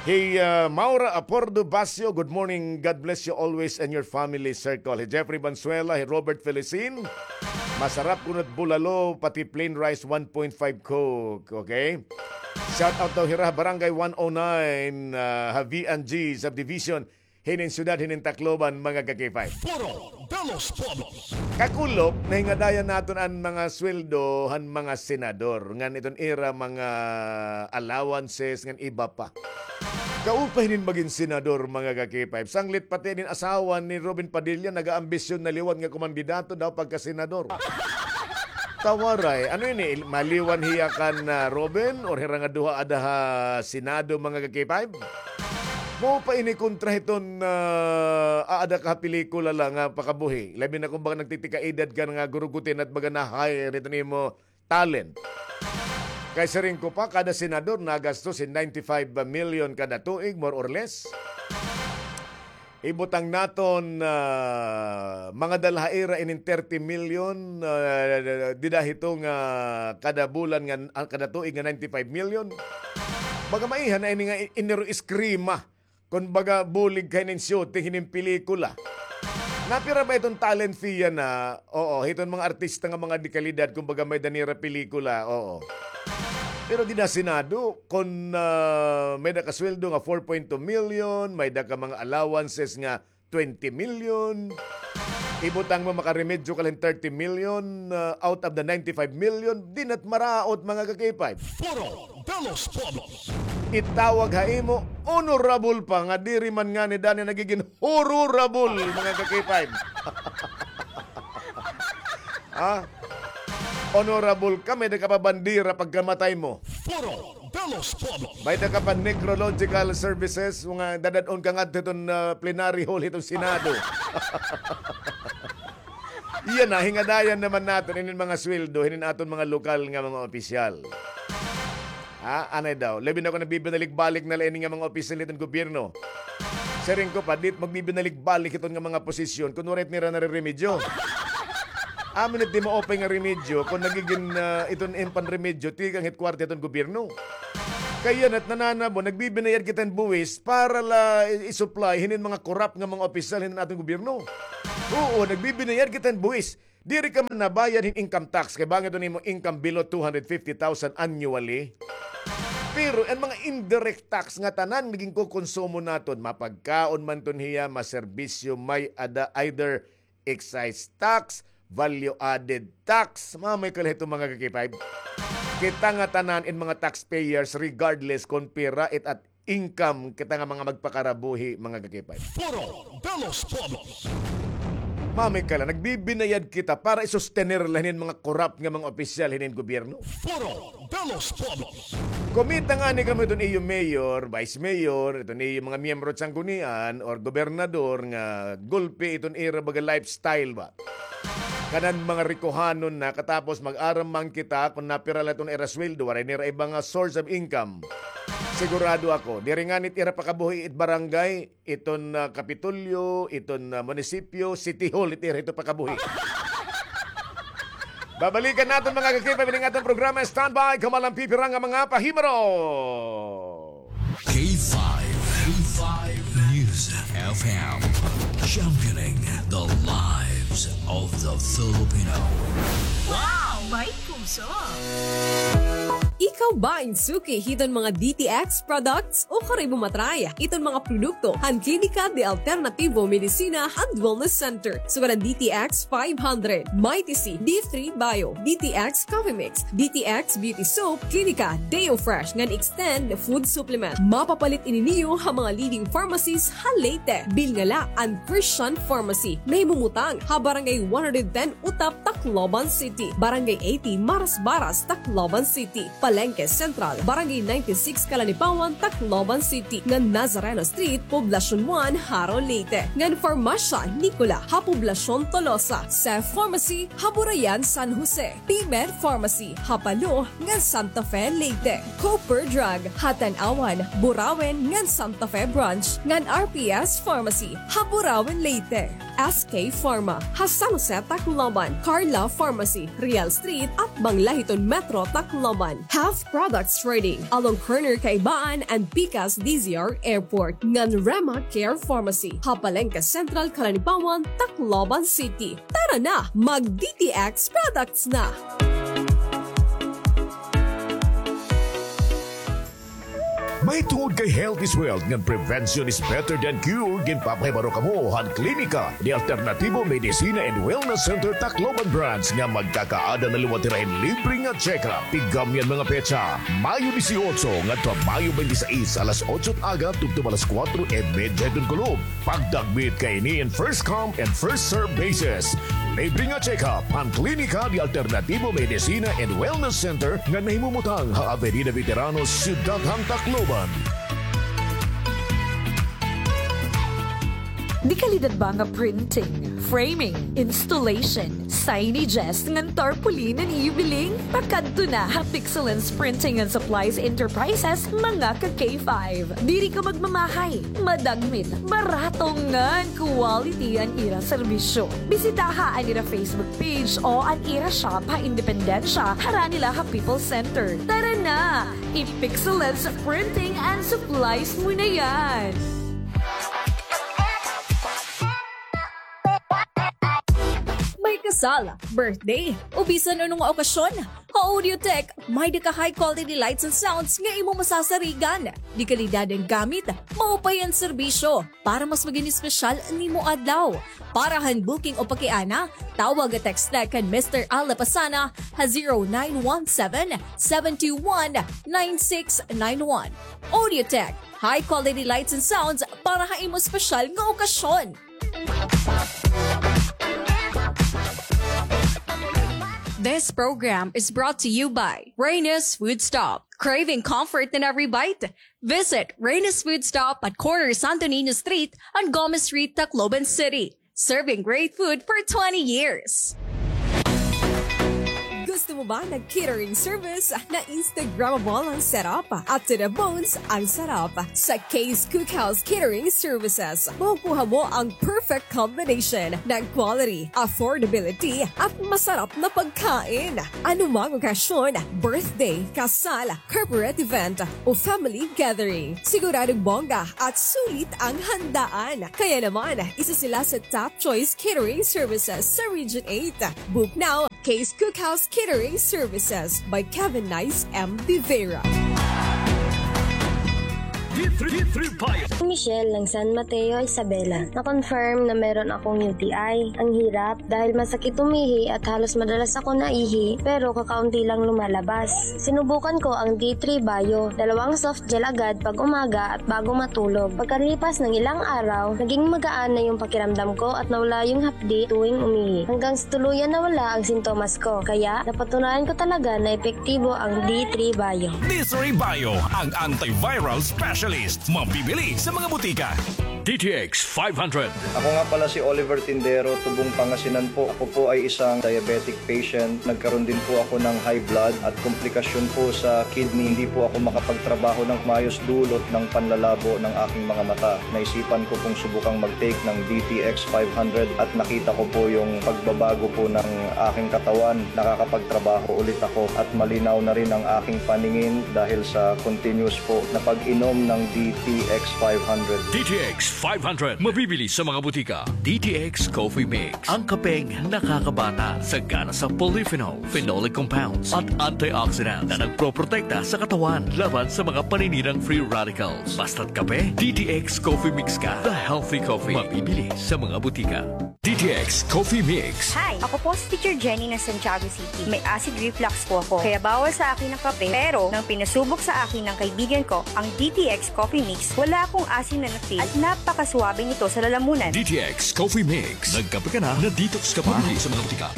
Hi, ah, Maura Apordo Basio, good morning. God bless you always and your family circle. Hi Jeffrey Banzuela, hi Robert Felicin. Masarap kunot bulalo, pati plain rice, one point five Coke. Okay? Shout out daw hira, Barangay one oh nine, ah, ha V and G Subdivision. Hinin syudad, hinin Tacloban, mga ka-K five. Foro de los Pueblos. Kakulop, nahingadayan naton an mga sweldo han mga senador, ngan iton ira mga allowances, ngan iba pa. Kaupay hinin magin senador, mga ka-K five. Sanglit pati inin asawa ni Robin Padilla, nagaambisyon na liwat nga kumandidato daw pagka-senador. Tawaray, ano ini? Maliwan hiya kan, ah, Robin or hira nga duha ada ha Senado, mga ka-K five? Mao pa ini kontra hiton, ah, aada ka ha pelikula la nga pakabuhi. Labi na kon baga nagtitikaedad ka na nga gurugutin at baga na-hire hiton imo talent. Kay siring ko pa, kada senador nagastos hin ninety-five million kada tuig, more or less. Ibutang naton, ah, mga dalha ira inin thirty million, ah, dida hito nga kada bulan nga, ah, kada tuig nga ninety-five million. Baga maiha na ini nga i-, iniro iskrima. Kon baga bulig kay nin shooting hinin pelikula. Napira ba iton talent fee yana? Oo, hiton mga artista nga mga dekalidad, kon baga may-ada nira pelikula, oo. Pero dida Senado, kon, ah, may-ada ka sweldo nga four point two million, may-ada ka mga allowances nga twenty million. Ibutang mo, makaremedyo ka la hin thirty million, ah, out of the ninety-five million, dinat maraot, mga ka-K five. Foro de los Pueblos. Itawag ha imo, honorable pa, nga diri man ngani dani nagigin horrible, mga ka-K five. Ha? Honorable ka, may-ada ka pa bandera pagkamatay mo. Foro de los Pueblos. May-ada ka pa necrological services, mga dadad-on ka ngadto hiton, ah, plenary hall hiton Senado. Yana, hingadayan naman naton inin mga sweldo hinin aton mga lokal nga mga opisyal. Ha? Anay daw. Labi na kon nagbibinalik-balik na la ini nga mga opisyal hiton gobyerno. Siring ko pa, diri magbibinalik-balik hiton nga mga posisyon kon waray nira nareremedyo. Amo ini it di maupay nga remedyo kon nagigin, ah, iton im panremedyo tikang hit kwarta hiton gobyerno. Kay yana it nananabo, nagbibinayad kita hin buwis para la i-, i-supply hinin mga korap nga mga opisyal hinin aton gobyerno. Oo, nagbibinayad kita hin buwis. Diri ka man nabayad hin income tax kay bangin iton imo income below two hundred fifty thousand annually. Pero an mga indirect tax nga tanan nga ginkokonsumo naton, mapagkaon man iton hiya, maserbisyo, may-ada, either excise tax, value added tax, mamay ka la hito, mga ka-K five. Kita nga tanan in mga taxpayers, regardless kon pira it at income kita nga mga magpakarabuhi, mga ka-K five. Foro de los Pueblos. Mamay ka la, nagbibinayad kita para i-sostener la hinin mga korap nga mga opisyal hinin gobyerno. Foro de los Pueblos. Kumita ngani kamo hiton iyo mayor, vice mayor, hiton iyo mga miyembro hit sanggunian or gobernador nga gulpi iton ira baga lifestyle ba. Kanan mga rikohanon na, katapos mag-aram man kita kon napira la iton ira sweldo, waray nira iba nga source of income. Sigurado ako, diri ngani it ira pakabuhi it barangay, iton, ah, Kapitolyo, iton, ah, munisipyo, City Hall, it ira hito pakabuhi. Babalikan naton, mga ka-K five, ining aton programa. Standby, kamo lang pipira nga mga pahimaro. K five, K five News F M, championing the live of the Filipino. Wow! May puso! Ikaw ba in suki hiton mga D T X products? Ukon imo matry iton mga produkto han Klinika de Alternativo Medicina and Wellness Center. Sugad an D T X five hundred, Mighty C, D three Bio, D T X Coffee Mix, D T X Beauty Soap, Klinika Deo Fresh ngan Extend Food Supplement. Mapapalit ini niyo ha mga leading pharmacies ha Leyte. Bilngala an Christian Pharmacy. Nahimumutang ha Barangay one hundred ten Utap, Tacloban City, Barangay eighty Marasbaras, Tacloban City, Palengke Central, Barangay ninety-six Calanipawan, Tacloban City, ngan Nazareno Street, Poblacion one, Jaro, Leyte, ngan Farmasya Nicola ha Poblacion Tolosa, Seth Pharmacy ha Burayan, San Jose, P-Med Pharmacy ha Palo ngan Santa Fe, Leyte, Cooper Drug ha Tanauan, Burauen ngan Santa Fe Branch, ngan R P S Pharmacy ha Burauen, Leyte. S K Pharma ha San Jose, Tacloban, Carla Pharmacy, Real Street, atbang la hiton Metro Tacloban, Health Products Trading, along corner Kaibaan and Pikas D Z R Airport, ngan Rema Care Pharmacy ha Palengke Central, Calanipawan, Tacloban City. Tara na, mag D T X products na! Mahitungod kay health is wealth ngan prevention is better than cure, ginpapahibaro kamo han Klinika de Alternativo Medicina and Wellness Center Tacloban Branch nga magkakaada na liwat hira hin libre nga check-up. Tigam niyan mga petsa, Mayo dieciocho ngadto ha Mayo twenty-six, alas otso aga tubtob alas kuwatro y medya hiton kulop. Pagdagmit kaini in first come and first serve basis. Libre nga check-up han Klinika de Alternativo Medicina and Wellness Center nga nahimumutang ha Avenida Veteranos, Syudad han Tacloban. Dekalidad ba nga printing, framing, installation, signages ngan tarpaulin an iyo biling? Pakadto na ha Pixelens Printing and Supplies Enterprises, mga ka K five. Diri ka magmamahay. Madagmit, barato ngan quality an ira serbisyo. Bisitaha an ira Facebook page o an ira shop ha Independencia, harani la ha People's Center. Tara na! I-Pixelens Printing and Supplies mo na yan! May kasal, birthday, o bisan ano nga okasyon, ha Audiotech, may-ada ka high quality lights and sounds nga imo masasarigan. Dekalidad an gamit, maupay an serbisyo para mas magin espesyal an imo adlaw. Para han booking o pakiana, tawag o text la kan Mister Al Lapasana ha zero nine one seven, seven two one, nine six nine one. Audiotech, high quality lights and sounds para ha imo espesyal nga okasyon. This program is brought to you by Reyna's Food Stop. Craving comfort in every bite? Visit Reyna's Food Stop at corner Santo Niño Street and Gomez Street, Tacloban City. Serving great food for twenty years. Gusto mo ba ng catering service na Instagrammable ang setup at to the bones ang sarap? Sa Kay's Cookhouse Catering Services, makukuha mo ang perfect combination ng quality, affordability, at masarap na pagkain. Anumang okasyon, birthday, kasal, corporate event, o family gathering, siguradong bongga at sulit ang handaan. Kaya naman, isa sila sa top choice catering services sa Region eight. Book now, Kay's Cookhouse Catering Services by Kevin Nice M. De Vera. D three, D three Bio. Michelle ng San Mateo, Isabela. Na-confirm na meron akong U T I. Ang hirap dahil masakit umihi at halos madalas ako naihi, pero kakaunti lang lumalabas. Sinubukan ko ang D three Bio, dalawang soft gel agad pag umaga at bago matulog. Pagkalipas ng ilang araw, naging magaan na yung pakiramdam ko at nawala yung hapdi tuwing umihi. Hanggang sa tuluyan nawala ang sintomas ko. Kaya, napatunayan ko talaga na epektibo ang D three Bio. D three Bio, ang antiviral specialist. Mabibili sa mga butika. D T X five hundred. Ako nga pala si Oliver Tindero, tubong Pangasinan po. Ako po ay isang diabetic patient. Nagkaroon din po ako ng high blood at komplikasyon po sa kidney. Hindi po ako makapagtrabaho ng maayos dulot ng panlalabo ng aking mga mata. Naisipan ko pong subukang mag-take ng D T X five hundred at nakita ko po yung pagbabago po ng aking katawan. Nakakapagtrabaho ulit ako at malinaw na rin ang aking paningin dahil sa continuous po na pag-inom ng D T X five hundred. D T X five hundred. Mabibili sa mga butika. D T X Coffee Mix. Ang kapeng nakakabata, sagana sa polyphenol, phenolic compounds, at antioxidants na nagproprotekta sa katawan laban sa mga paninirang free radicals. Basta't kape, D T X Coffee Mix ka. The healthy coffee. Mabibili sa mga butika. D T X Coffee Mix. Hi! Ako po si Teacher Jenny ng Santiago City. May acid reflux po ako, kaya bawal sa akin ang kape. Pero nang pinasubok sa akin ng kaibigan ko ang D T X Coffee Mix, wala akong asim na na-feel at napakasuwabe nito sa lalamunan. D T X Coffee Mix. Nagkape ka na, na-detox ka pa. Bumili sa mga butika.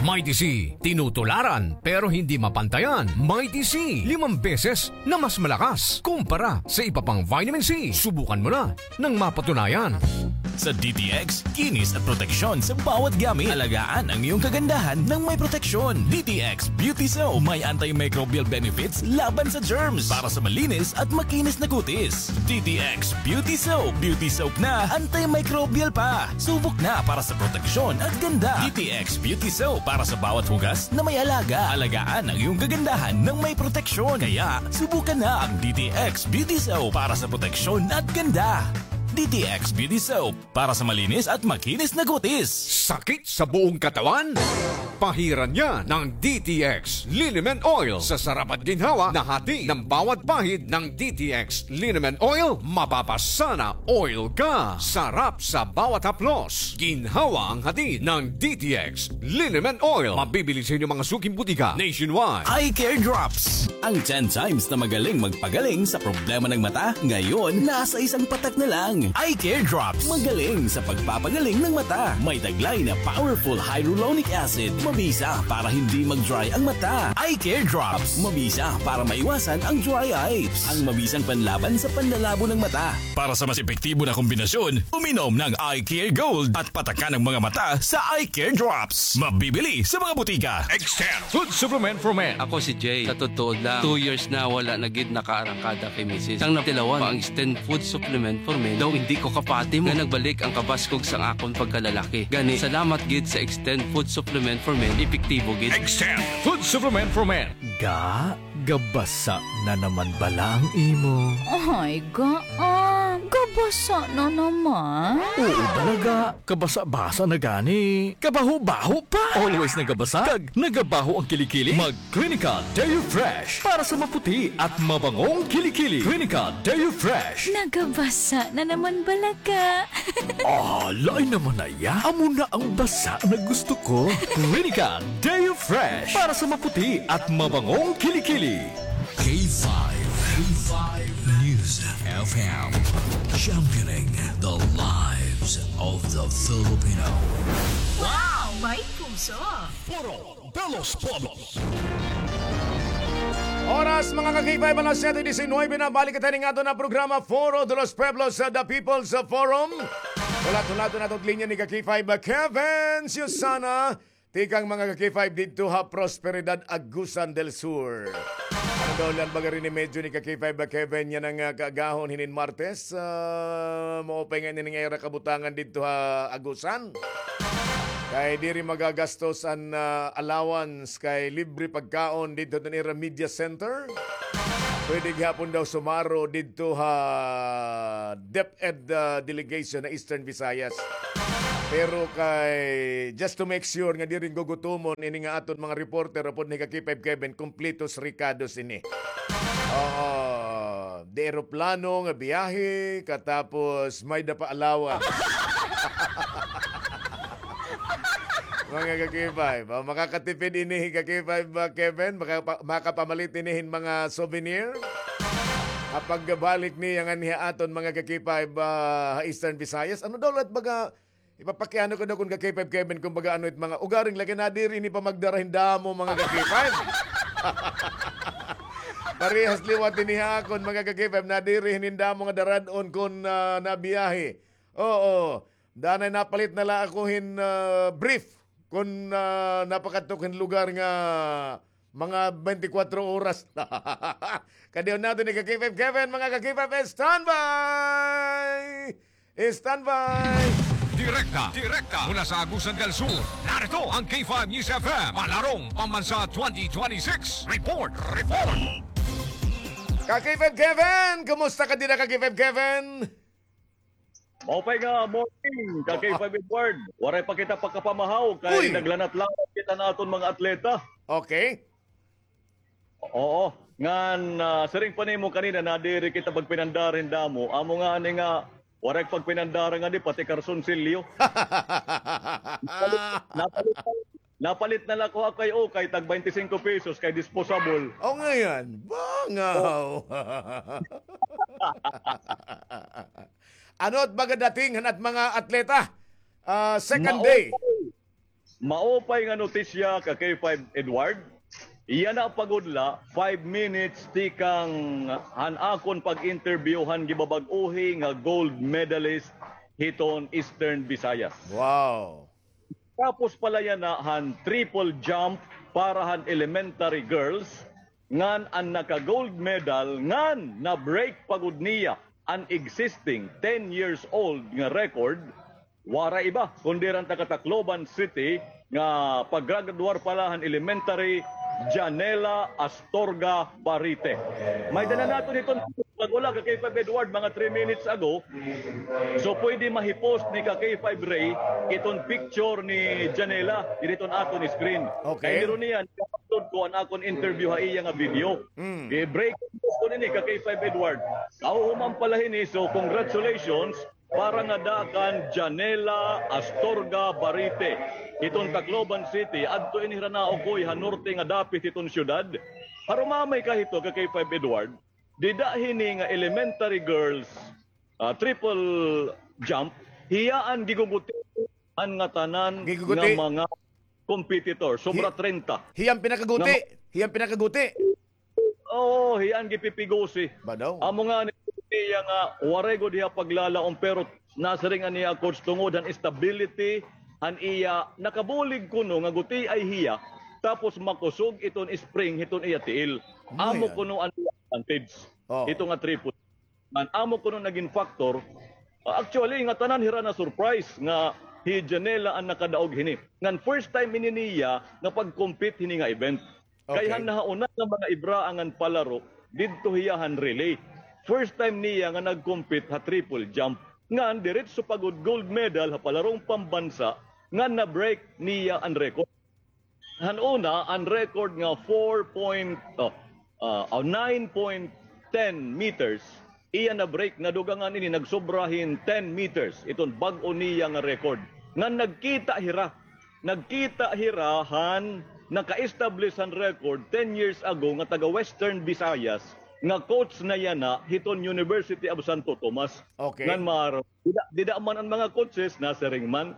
Mighty C, tinutularan pero hindi mapantayan. Mighty C, limang beses na mas malakas kumpara sa iba pang vitamin C. Subukan mo na nang mapatunayan. Sa D T X, kinis at proteksyon sa bawat gamit. Alagaan ang iyong kagandahan ng may proteksyon. D T X Beauty Soap, may antimicrobial benefits laban sa germs para sa malinis at makinis na kutis. D T X Beauty Soap, beauty soap na, antimicrobial pa. Subok na para sa proteksyon at ganda. D T X Beauty Soap para sa bawat hugas na may alaga. Alagaan ang iyong kagandahan ng may proteksyon. Kaya, subukan na ang D T X Beauty Soap para sa proteksyon at ganda. D T X Beauty Soap para sa malinis at makinis na kutis. Sakit sa buong katawan? Pahiran niya ng D T X Liniment Oil. Sa sarap at ginhawa na hati ng bawat pahid ng D T X Liniment Oil, mapapasana oil ka. Sarap sa bawat haplos. Ginhawa ang hati ng D T X Liniment Oil. Mabibili sa inyong mga suking butika nationwide. Eye Care Drops. Ang ten times na magaling magpagaling sa problema ng mata, ngayon nasa isang patak na lang. Eye Care Drops. Magaling sa pagpapagaling ng mata. May taglay na powerful hyaluronic acid. Mabisa para hindi mag-dry ang mata. Eye Care Drops. Mabisa para maiwasan ang dry eyes. Ang mabisang panlaban sa panlalabo ng mata. Para sa mas epektibo na kombinasyon, uminom ng Eye Care Gold at patakan ang mga mata sa Eye Care Drops. Mabibili sa mga butika. Extend Food Supplement for Men. Ako si Jay. Sa totoo lang, two years na wala na gid nakaarangkada kay misis. Sang natilawan pa ang Extend Food Supplement for Men, daw hindi ko kapati mo nga nagbalik ang kabaskog sang akon pagkalalaki. Gani, salamat gid sa Extend Food Supplement for Men, epektibo gid. Extend Food Supplement for Men. Ga, gabasa na naman bala ang imo. Ay, ga, ah, gabasa na naman. Oo, bala ga. Kabasa-basa na gani. Kabaho-baho pa. Always nagabasa. Kag nagabaho ang kilikili. Mag Clinica Deo Fresh para sa maputi at mabangong kilikili. Clinica Deo Fresh. Nagabasa na naman bala ga. Ah, lain naman na iya. Amo na ang basa na gusto ko. Clinica Deo Fresh para sa maputi at mabangong kilikili. K five, K five News F M, championing the lives of the Filipino. Wow! May puso! Foro de los Pueblos. Oras, mga ka-K five, alas siyete disinuybe na. Balik kita ning aton nga programa, Foro de los Pueblos, sa The People's Forum. Hulat-hulaton naton linya ni ka-K five Kevin Susana. Tikang mga ka-K five didto ha Prosperidad, Agusan del Sur. Ano daw la an baga rin ni medyo ni ka-K five Kevin yana nga kaagahon hinin Martes? Ah, maupay nga ini nga ira kabutangan didto ha Agusan. Kay diri magagastos an, ah, allowance kay libre pagkaon didto han ira media center. Pwede gihapon daw sumaro didto ha DepEd, ah, delegation na Eastern Visayas. Pero kay, just to make sure nga diri gugutomon ini nga aton mga reporter upod ni ka-K five Kevin, kumpletos rekados ini. Oo. Di eroplano nga biyahe, katapos may-ada pa allowance. Mga ka-K five, ah, makakatipid ini ka-K five, ah, Kevin, maka-, makapamalit ini hin mga souvenir. Ha pagbalik niya nganhi ha aton mga ka-K five, ah, ha Eastern Visayas. Ano daw la it baga, ipapakiano ko daw kon ka-K five Kevin, kumbaga ano it mga ugaring laki nadiri ini pa magdara hin damo mga ka-K five. Parehas liwat ini ha akon mga ka-K five, nadiri hin damo nga darad-on kon, ah, nabiyahe. Oo. Danay napalit na la ako hin, ah, brief kon, ah, napakadto hin lugar nga mga twenty-four oras. Kadion naton ni ka-K five Kevin, mga ka-K five, standby! Standby! Direkta, direkta mula sa Agusan del Sur, narito ang K five News F M, Palarong Pambansa twenty twenty-six. Report, report! Ka-K five Kevin, kumusta ka dida, ka-K five Kevin? Maupay nga morning, ka K five Edward. Waray pa kita pakapamahaw, kay naglanat-lanat kita naton mga atleta. Okay. Oo, ngan, ah, siring pa nimo kanina, nadiri kita pagpinandar hin damo. Amo ngani nga, waray pagpinandar ngadi, pati karson silyo. Napalit, napalit na la ko ha kay ukay, tag twenty-five pesos kay disposable. O, ngayan, bangaw. Ano it baga dating han at mga atleta? Ah, second day. Maupay nga notisya ka K five Edward. Yana pa gud la, five minutes tikang han akon pag-interview han gibabag-ohi nga gold medalist hiton Eastern Visayas. Wow. Tapos pa la yana han triple jump para han elementary girls, ngan an naka-gold medal, ngan na-break pa gud niya an existing ten years old nga record, waray iba kundi an taga Tacloban City nga paggraduar pa la han elementary, Janela Astorga Barite. May dala naton hiton pag-ula ka K five Edward mga three minutes ago. So pwede mahi-post ni ka K five Ray iton picture ni Janela diri hiton aton screen. Okay. Kay diri niya, i-upload ko an akon interview ha iya nga video. Mm. I-break ko nini ka K five Edward. Aw, human pa la hini, so congratulations para ngada kan Janela Astorga Barite hiton Tacloban City. Adto ini hira naukoy ha norte nga dapit hiton syudad. Harumamay ka hito ka K five Edward. Dida hini nga elementary girls, ah, triple jump, hiya an giguguti an ngatanan nga mga competitor, sobra treinta. Hiya an pinakaguti. Hiya an pinakaguti. Oo, hiya an gipipigusi. Ba daw? Amo ngani niya nga waray gud hiya paglalaom, pero nasiring an iya coach tungod han stability han iya, nakabulig kuno nga gutiay hiya, tapos makusog iton spring hiton iya tiil. Amo kuno an advantage. Ito nga triple. Ngan amo kuno nagin factor. Ah, actually, ngatanan hira na-surprise nga hi Janela an nakadaog hini. Ngan first time ini niya nga pag-compete hini nga event. Kay han nahauna nga mga ibraangan palaro, didto hiya han relay. First time niya nga nag-compete ha triple jump. Ngan diretso pa gud gold medal ha palarong pambansa, ngan na-break niya an record. Han una, an record nga four point, oh, ah, oh, nine point ten meters, iya na-break, nadugangan ini, nagsobra hin ten meters. Iton bag-o niya nga record. Ngan nagkita hira. Nagkita hira han naka-establish han record ten years ago nga taga Western Visayas nga coach na yana hiton University of Santo Tomas. Okay. Ngan mar-, dida, dida man an mga coaches, nasiring man,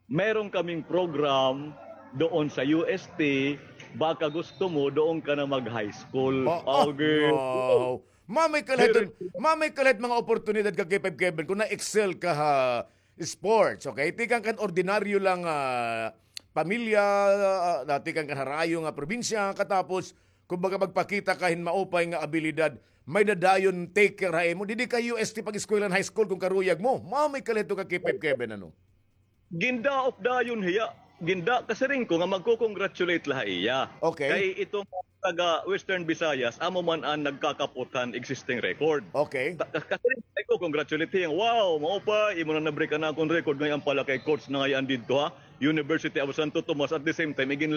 meron kaming program doon sa U S T, baka gusto mo doon ka na mag-high school. Oh, oh, okay. Wow. Mamay ka la hit, mamay ka la hit mga oportunidad ka K five Kevin kung na-excel ka ha sports, okay? Tikang kan ordinaryo lang, ah, pamilya, ah, tikang kan harayo nga probinsya, katapos, kumbaga, magpakita ka hin maupay nga abilidad, may-ada dayon take care ha imo. Didi ka U S T pag-eskwela han high school kung karuyag mo. Mamay ka la hito ka K five Kevin, ano? Gindaop dayon hiya. Ginda-, kasiring ko nga magko-congratulate la ha iya. Okay. Kay iton taga Western Visayas, amo man an nagkakapot han existing record. Okay. Ta-, ka-, kasiring ko, congratulate hiya. Wow, maupay, imo na na-break an akon record. Ngay-an pala kay coach na ngay-an didto ha University of Santo Tomas. At the same time, igin